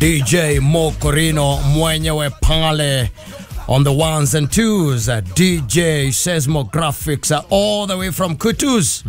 DJ Mokorino mwenyewe pale on the ones and twos, DJ Seismographics, all the way from Kutus.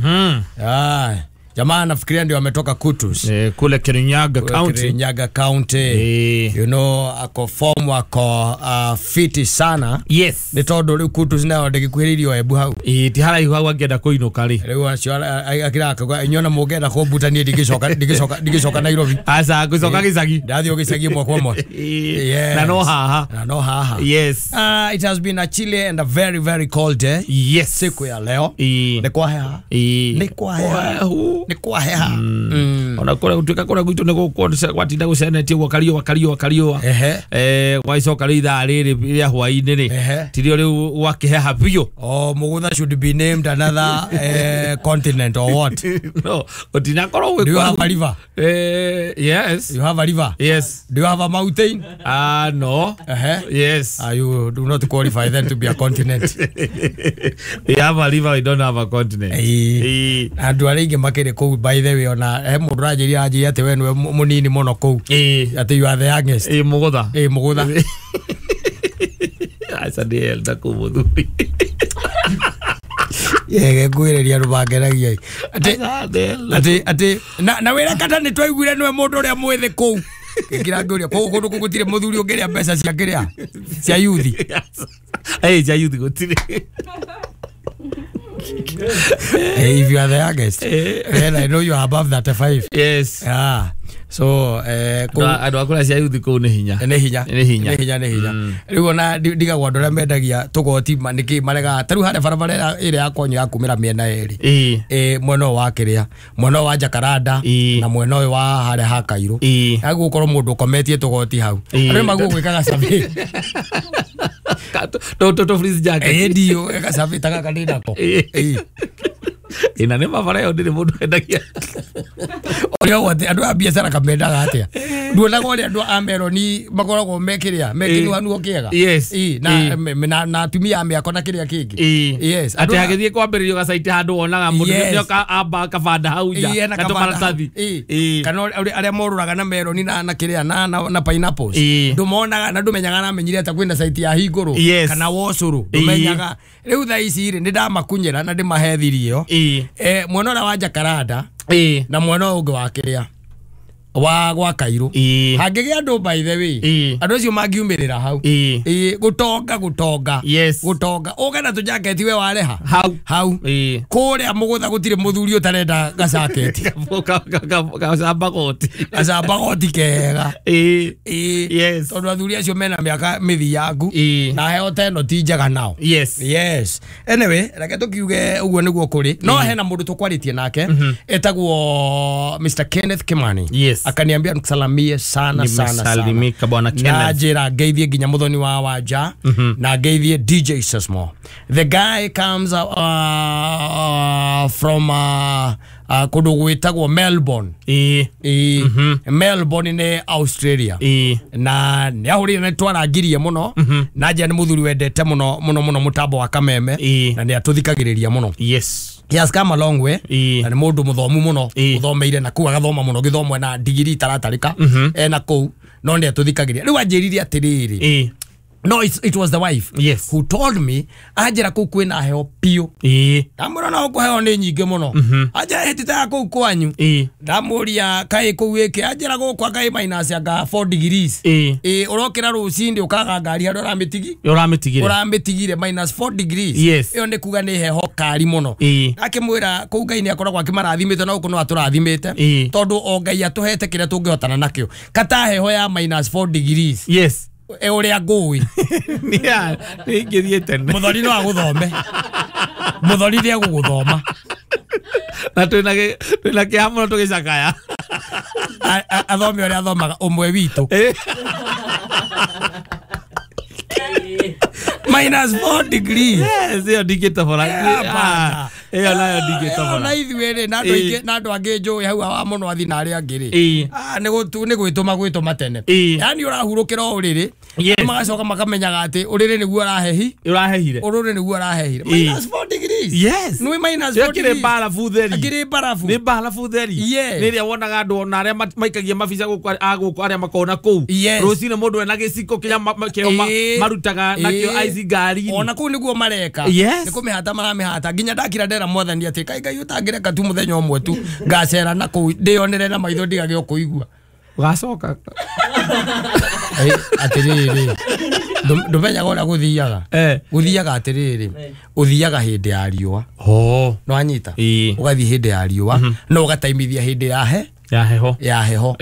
Ah, jamaa nafikiria ndio ametoka Kutus. Kule Kirinyaga County. Kirinyaga County. You know, ako form ako fiti sana. Yes. Nĩ tondũ rĩu Kutus nayo ndĩgĩkuhĩrĩirio Embu hau. Ti haraihu hau angĩenda kũinũka rĩ. Rĩu acio akĩraka inyuĩ ona mũngĩenda kũmbuta niĩ ndingĩcoka ndingĩcoka ndingĩcoka Nairobi. Aca ngũcoka gĩcagi. Ndathiĩ gĩcagi ĩmwe kwa ĩmwe. Yes. Na no haha. Na no haha. Yes. It has been a chilly and a very very cold day. Yes. Siku ya leo. Nĩ kwaheha. Nĩ kwaheha. Nĩ kwaheha. Ona kũrĩa gũtuĩka kũrĩa gwitũ nĩ gũkũ gwatinda gũcenetie ũguo kariũa kariũa kariũa. Gwagĩcoka rĩu ithaa rĩrĩ rĩa hwaĩ-inĩ rĩ, tirio rĩu gwakĩheha biũ. Oh, Mugutha should be named another continent or what? No, ũtinakorwo Do you have a river? Yes. You have a river? Yes. Do you have a mountain? No. Yes. You do not qualify then to be a continent. We have a river, we don't have a continent. Andũ arĩa aingĩ makĩrĩ kũu, by the way, ona he mũndũ ũranjĩria anjĩria atĩ we nĩwe mũnini mũno kũu. Atĩ you are the youngest. Mũgũtha. Mũgũtha. Aca nĩ elder kũu mũthuri. Yege ngwĩrĩria andũ mangenagia. Atĩ atĩ atĩ na wĩra kata nĩ twaiguire nĩwe mũndũ ũrĩa mwĩthĩ kũu. Ngĩra ngĩũria kũu kũndũ kũu gũtirĩ mũthuri ũngĩrĩa mbeca cia kĩrĩa cia yuthi. Cia yuthi gũtirĩ. If you are the youngest, then I know you are above 35. Yes. Yeah. So andũ a kũrĩa cia yuthi kũu nĩ hinya. Nĩ hinya. Nĩ hinya. Nĩ hinya, nĩ hinya. Rĩu ona ndigagwo andũ arĩa mendagia tũgoti nĩkĩ maregaga. Ta rĩu harĩa barabara ĩrĩa ya kwanyu ya kumĩra mĩena ĩrĩ. Mwena ũyũ wa kĩrĩa, mwena ũyũ wa Jacaranda na mwena ũyũ wa harĩa ha Kairũ. Hagũkorwo mũndũ ũkometie tũgoti hau. Andũ nĩmaguo gwĩkaga survey. Tũ fleece jacket. Ndio, eka survey ta gaka ndĩ nako. Ina nĩ mabara ĩyo ndĩrĩ mũndũ endagia. Ũrĩa wothe andũ a biacara kamendaga atĩa? Nduonaga ũrĩa andũ a meroni makoragwo mekĩrĩa mekĩnuanuo kĩega. Yes. Na atumia a mĩako na kĩrĩa kĩngĩ. Yes. Atĩ hagĩthiĩ kwambĩrĩrio gacaiti handũ wonaga mũndũ nĩoka amba kabanda hau nja na tũmaratathi. Kana arĩa morũraga na meroni na kĩrĩa na pineapples. Ndũmonaga na ndũmenyaga na amenyire atĩ kwĩna caiti ya hingũrũ kana wocũrũ. Ndũmenyaga. Rĩu thaa ici rĩ, nĩndamakunyĩra na ndĩmahe thiri ĩyo. Mwena ũrĩa wa Jacaranda na mwena ũyũ ũngĩ wa kĩrĩa wa gwa Kairũ. Hangĩgĩa andũ, by the way, andũ acio mangiumĩrĩra hau. Gũtonga gũtonga. Yes. Gũtonga. Ũge na tũjaketi we wareha. Hau. Hau. Kũrĩa Mũgũtha gũtirĩ mũthuri ũtarenda gacaketi. Gacamba goti. Gacamba goti kega. Yes. Tondũ athuri acio mena mĩaka mĩthiangu. Na heo ta ĩno ti njega nao. Yes. Yes. Anyway, reke tũkiuge ũguo nĩguo kũrĩ. No hena mũndũ tũkwarĩtie nake etagwo Mr. Kenneth Kimani. Yes. Akaniambia nikusalamie sana sana sana. Nimesalimika bwana Kenneth. Na njĩra ngeithie nginya muthoni wa Wanja na ngeithie DJ Sesmo. The guy comes from kũndũ gwĩtagwo Melbourne. Melbourne nĩ Australia. Na nĩ ahũrire nĩ twarangirie mũno. Na njĩra nĩ mũthuri wendete mũno mũno mũno mũtambo wa Kameme. Na nĩ atũthikagĩrĩria mũno. Yes. He has come a long way. Na nĩ mũndũ mũthomu mũno, ũthomeire na kũu agathoma mũno gĩthomo na digiri itaratarĩka. Ena kũu no nĩ atũthikagĩrĩria. Rĩu anjĩrire atĩrĩrĩ. No, it was the wife. Yes. Who told me anjĩra kũu kwĩna heho biũ. Ndamwĩra no kũheo nĩ nyingĩ mũno. Anjĩra hĩtĩte ya kũu kwanyu. Ndamũria kaĩ kũu ĩkĩ anjĩra gũkũ kaĩ minus anga 4 degrees. Ũrokĩra rũcinĩ ũkaga ngari harĩa ũramĩtigi. Ũramĩtigire. Ũramĩtigire minus 4 degrees. Yes. Ĩyo nĩ kuga nĩ heho kari mũno. Akĩmwĩra kũu Ngai nĩ akoragwo akĩmarathimĩte na gũkũ no atũrathimĩte. Tondũ o Ngai atũhete kĩrĩa tũngĩhotana nakĩo. Kata heho ya minus 4 degrees. Yes. Ũrĩa ngũĩ. Nĩ ingĩthiĩ tene. Mũthoni no agũthome. Mũthoni nĩ egũgũthoma. Na twĩna kĩeha mũno tũgĩcakaya. Athome ũrĩa athomaga ũmwe witũ. Minus 4 degrees. Yes, ĩyo ndingĩtobora. Ĩyo nayo ndingĩtobora. Na ithuĩ rĩ, na andũ aingĩ, na andũ angĩ njũĩ hau wa mũno athi na arĩa angĩ rĩ. Nĩ gwĩtũma gwĩtũma tene. Yaani ũrahurũkĩra o ũrĩrĩ. Magacoka makamenyaga atĩ ũrĩrĩ nĩguo ũrahehi. Ũrahehire. Ũrĩrĩ nĩguo ũrahehire. Minus 4 degrees. degrees. Yes. Nĩ minus 4 Ĩkĩrĩ degrees. mbarabu theri. Akĩrĩ mbarabu. Nĩ mbarabu theri. Yes. Nĩ ĩrĩa wonaga andũ ona arĩa maikagia mabica gũkũ a gũkũ arĩa makoragwo na kũu. Yes. Rũcinĩ mũndũ ena gĩciko kĩrĩa kĩo marutaga nakĩo ice ngari-inĩ. Ona kũu nĩguo mareka. Yes. Nĩ kũmĩhata maramĩhata nginya ndakira ndera mwathani atĩ kai Ngai ũtangĩreka tu mũthenya ũmwe tu ngacera na kũu ndĩyonere na maitho ndigage o kũigua. Ũgacoka. Atĩrĩrĩ ndũmenyaga ũrĩa gũthiaga. Gũthiaga atĩrĩrĩ ũthiaga hĩndĩ ya riũa. No anyita. Ũgathiĩ hĩndĩ ya riũa no ũgataimithia hĩndĩ ya he ya heho. Ya heho.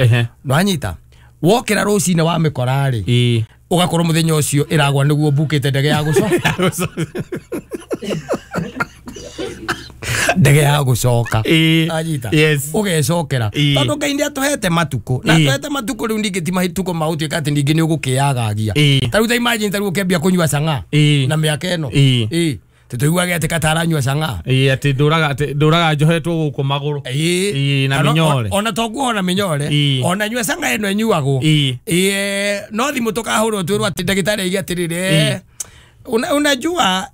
No anyita. Wokĩra rũcinĩ wa mĩkora rĩ ũgakorwo mũthenya ũcio ĩragwa nĩguo mbukĩte ndege ya gũcoka. Ndege ya gũcoka. Anyita. Ũgecokera. Tondũ Ngai nĩ atũhete matukũ. Na atũhete matukũ rĩu ningĩ ti matukũ ma gũtuĩka atĩ ningĩ nĩ ũgũkĩagagia. Ta rĩu ta imagine ta rĩu ũkĩambia kũnyua cang'aa na mĩaka ĩno. Tũiguage atĩ kataranyua cang'aa. Atĩ ndũraga njohetwo gũkũ magũrũ. Na mĩnyore. Ona to kuona mĩnyore. Ona nyua cang'aa ĩno ĩnyuagwo. No thimũ tũkahũrwo twĩrwo atĩ ndagĩtarĩ aige atĩrĩrĩ. Unajua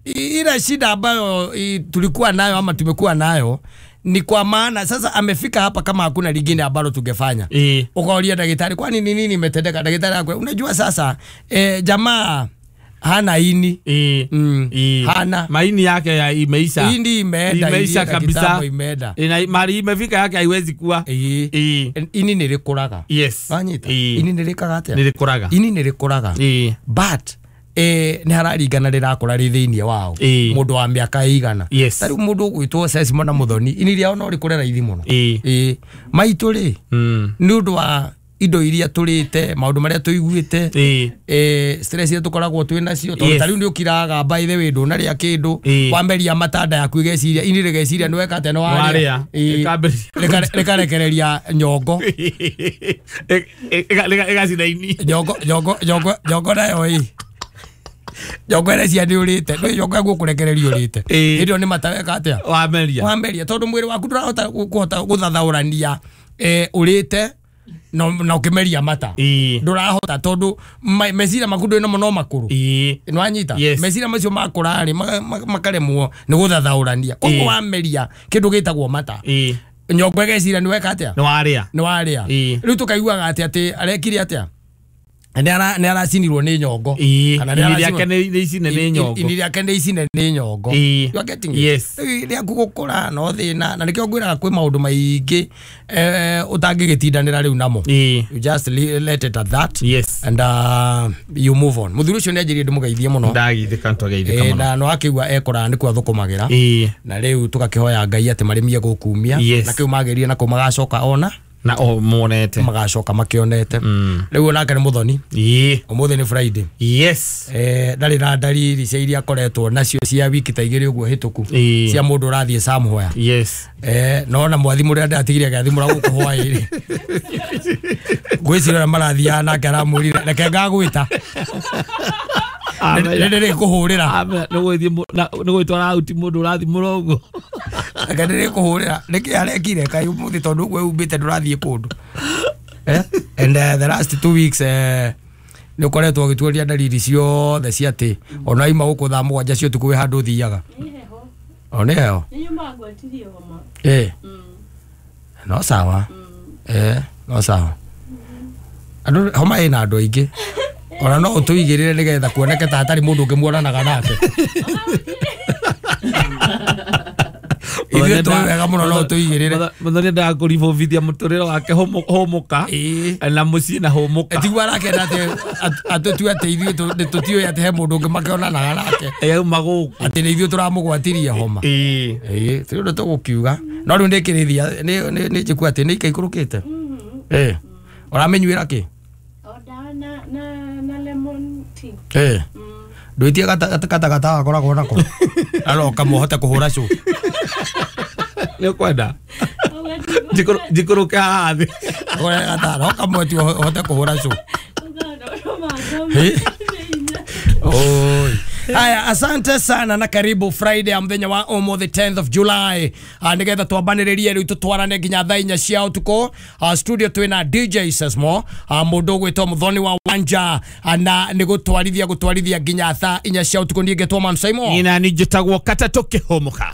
ile shida ambayo tulikuwa nayo ama tumekuwa nayo ni kwa maana sasa amefika hapa kama hakuna lingine ambalo tungefanya. Ukaulia daktari kwani ni nini imetendeka? Daktari akwe unajua sasa jamaa hana ini. Hana maini yake ya imeisha. Ini imeenda, imeisha kabisa. Imeenda. Ina mali imefika yake haiwezi kuwa. Ini nĩrĩkũraga. Yes. Wanyita. Ini nĩrĩkaga atĩa? Nĩrĩkũraga. Ini nĩrĩkũraga. But nĩ hararingana rĩrakũra rĩ thĩinĩ wao mũndũ wa mĩaka ĩigana. Ta rĩu mũndũ ũgwĩtwo Sesimo na Mũthoni ini rĩao no rĩkũre raithi mũno. Maitũ rĩ nĩ ũndũ wa indo iria tũrĩte maũndũ marĩa tũiguĩte stress iria tũkoragwo twĩ nacio tondũ ta rĩu nĩ ũkiraga by the way ndũnarĩa kĩndũ wamberia matanda yaku ĩgeciria ini rĩgeciria nĩ weka atĩa nĩ warĩa rĩkarekereria nyongo ĩgacina ini nyongo nayo ĩ nyongo ĩrecia nĩ ũrĩte nĩ nyongo ĩgũkũrekereria ũrĩte hĩndĩ ĩyo nĩ mata weka atĩa wameria tondũ mwĩrĩ waku ndũrahota kũhota gũthathaũrania ũrĩte na ũkĩmeria mata ndũrahota tondũ meciria maku ndwĩ namo no makũrũ nĩwanyita meciria macio makũra rĩ makaremwo nĩ gũthathaũrania koguo wameria kĩndũ gĩtagwo mata nyongo ĩgeciria nĩ weka atĩa nĩ warĩa rĩu tũkaiguaga atĩ atĩ arekire atĩa nĩ aracinirwo nĩ nyongo kana nĩ rĩake nĩ icine nĩ nyongo ini rĩake nĩ icine nĩ nyongo. You are getting it? Yes. Rĩaku gũkũra no thĩna na nĩkĩo ngwĩraga kwĩ maũndũ maingĩ ũtangĩgĩtindanĩra rĩu namo. You just let it at that. Yes. And you move on. Mũthuri ũcio nĩ anjĩrire ndĩmũgeithie mũno. Ndagithĩka nĩtwageithĩka mũno. Na no akĩigua ekũraya nĩkuo athũkũmagĩra. Na rĩu tũgakĩhoya Ngai atĩ marĩmie gũkumia na kĩu magĩrire na kũu magacoka ona na o monete magacoka makionete rĩu onake nĩ Mũthoni. Ũmũthĩ nĩ Friday. Yes. Ndarĩ na ndariri cia iria akoretwo nacio cia wiki ta igĩrĩ ũguo hĩtũku cia mũndũ ũrathiĩ somewhere. Yes. No na mwathimũ ũrĩa ndatigire agĩathimũra gũkũ hwaĩ-rĩ ngwĩciria ũrĩa marathiaga nake aramwĩrire reke ngagwĩta nĩndĩrĩkũhũrĩra nĩgwĩtwara auti mũndũ ũrathimũra ũguo reke ndĩrĩkũhũrĩra nĩkĩ arekire kaĩ ũmũthĩ tondũ ũguo eumbĩte ndũrathiĩ kũndũ. And the last 2 weeks nĩ ũkoretwo ũgĩtuoria ndariri ciothe cia atĩ ona aima gũkũ thaa 7 cia ũtukũ wĩ handũ ũthiaga. O nĩ heho? No sawa. No sawa. Andũ homa ĩna andũ aingĩ ona no ũtũigĩrĩre nĩgetha kuoneke ta hatarĩ mũndũ ũngĩ muonanaga nake. Ithuĩ tũĩ wega mũno no ũtũigĩrĩre. Mũthoni endaga kũribobithia mũtũrĩre wake hũmũka na mũciĩ na hũmũka. Tiguo arakenda atĩ atũtue atĩ ithuĩ tũtiũĩ atĩ he mũndũ ũngĩ makĩonanaga nake. Auma gũkũ. Atĩ nĩ ithuĩ tũramũgwatirie homa. Ti ũndũ tũgũkiuga. No rĩu nĩkĩrĩthia nĩ njĩkua atĩ nĩ ikaikũrũkĩte. Ũramĩnyuĩra kĩ? Na lemon tea. Ndwĩtie gatagatata gakoragwo nako aroka mũhote kũhũra cũ. Nĩ ũkwenda njikũrũke haha thĩ roka mweti ũhote kũhũra cũ. Oi. Haya, asante sana na karibu Friday ya muthenya wa umuthi 10th of July. Nigetha twambanĩrĩrie rĩu tũtwarane nginya thaa inya cia ũtukũ. Studio twĩna DJ Sesmo, mũndũ ũgwĩtwo Muthoni wa Wanja, na nĩ gũtwarithia nginya thaa inya cia ũtukũ. Niĩ ngetwo Man Simon. Ina ni njĩtagwo Katatũ Kĩhũmũka.